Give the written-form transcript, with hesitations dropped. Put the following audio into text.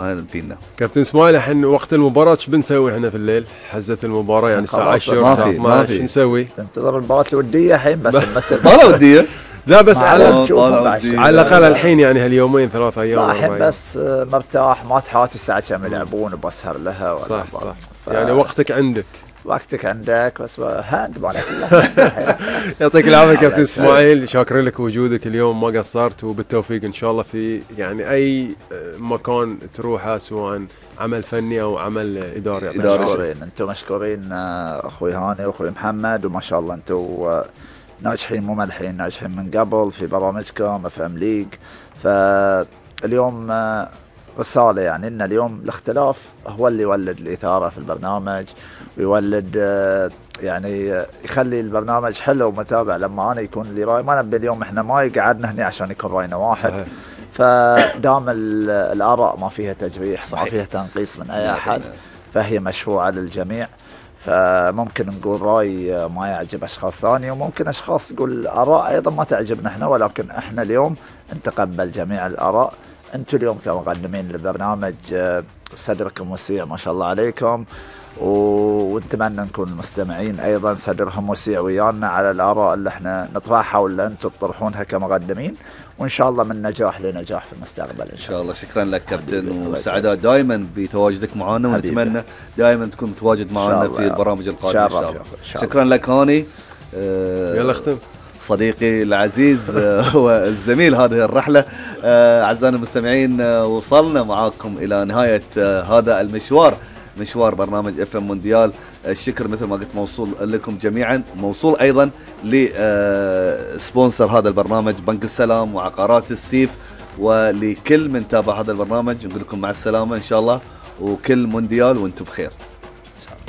اهلا فينا. كابتن اسماعيل، الحين وقت المباراة ايش بنسوي احنا في الليل؟ حزة المباراة يعني الساعة 10 الساعة 12 شو نسوي؟ تنتظر المباراة الودية الحين بس مباراة ودية؟ لا بس على على الاقل الحين يعني هاليومين 3 ايام. الحين بس مرتاح، ما تحاتي الساعة كم يلعبون وبسهر لها ولا صح صح. يعني وقتك عندك بس هاند مالك. يعطيك العافية كابتن اسماعيل، شاكرين لك وجودك اليوم، ما قصرت، وبالتوفيق ان شاء الله في يعني اي مكان تروحه، سواء عمل فني او عمل اداري. مشكورين، انتم مشكورين اخوي هاني واخوي محمد، وما شاء الله انتم ناجحين، مو ملحين، ناجحين من قبل في برامجكم اف ام ليج. فاليوم رسالة يعني ان اليوم الاختلاف هو اللي يولد الإثارة في البرنامج، ويولد يعني يخلي البرنامج حلو ومتابع. لما انا يكون لي راي، ما نبي اليوم احنا ما قعدنا هنا عشان يكون راينا واحد. صحيح. فدام الآراء ما فيها تجريح، ما فيها تنقيص من اي احد، فهي مشروعة للجميع. فممكن نقول رأي ما يعجب أشخاص ثاني، وممكن أشخاص تقول آراء أيضا ما تعجبنا احنا، ولكن احنا اليوم نتقبل جميع الآراء. انتم اليوم كمقدمين للبرنامج صدركم وسيع ما شاء الله عليكم، ونتمنى نكون المستمعين أيضا صدرهم وسيع ويانا على الآراء اللي احنا نطرحها واللي انتم تطرحونها كمقدمين، وإن شاء الله من نجاح لنجاح في المستقبل إن شاء الله. شكرا لك كابتن، وسعداء دائما بتواجدك معنا، ونتمنى دائما تكون متواجد معنا في البرامج القادمة إن شاء الله. شكرا لك هاني. يلا اختم. صديقي العزيز والزميل هذه الرحلة. أعزائنا المستمعين، وصلنا معاكم إلى نهاية هذا المشوار، مشوار برنامج اف ام مونديال. الشكر مثل ما قلت موصول لكم جميعا، موصول أيضا لسبونسر هذا البرنامج بنك السلام وعقارات السيف، ولكل من تابع هذا البرنامج نقول لكم مع السلامة إن شاء الله، وكل مونديال وانتم بخير.